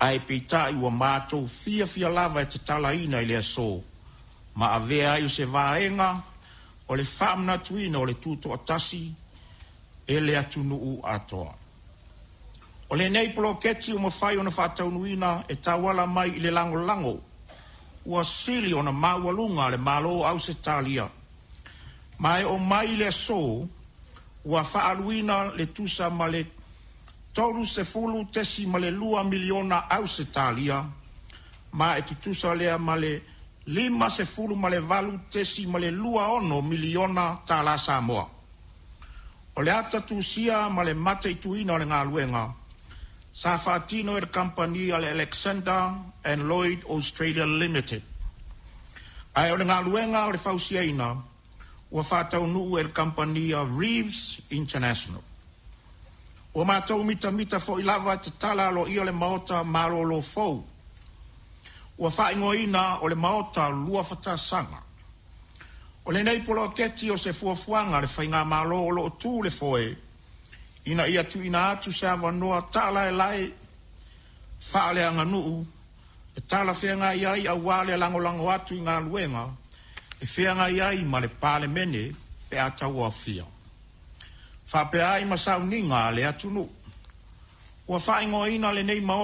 Ae peitai ua matou fiafia lava e tatalaina i le aso ma avea ai o se vaega o le faamanatuina o le Tutoatasi e le atunuu atoa. O lenei Poloketi ua mafai ona faataunuuina e tauala mai i le lagolago ua sili ona maualuga a le Malo o Ausetalia, ma e oo mai i le aso ua faaaluina e tusa ma le $30.2 miliona Ausetalia, ma e tutusa lea ma le $58.26 miliona tala Samoa. O le ata tusia ma le mataituina o le galuega, sa faatino e le Kamupani a le Alexander & Lloyd Australia Limited, ae o le galuega o le fausiaina ua faataunuu e le Kamupani a Reeves International. Ua matou mitamita foi lava e tatala aloaia le Maota Malolo fou, ua faaigoaina o le Maota Luafa Tausaga. O lenei poloketi o se fuafuaga a le Faigamalo o loo tu le foe, ina ia tuuina atu se avanoa taalaelae faaleaganuu e talafeagai ai aua le lagolago atu i galuega e feagai ai ma le Palemene pe a tauaofia, faapea ai ma sauniga a le atunuu. Ua faaigoaina lenei Maota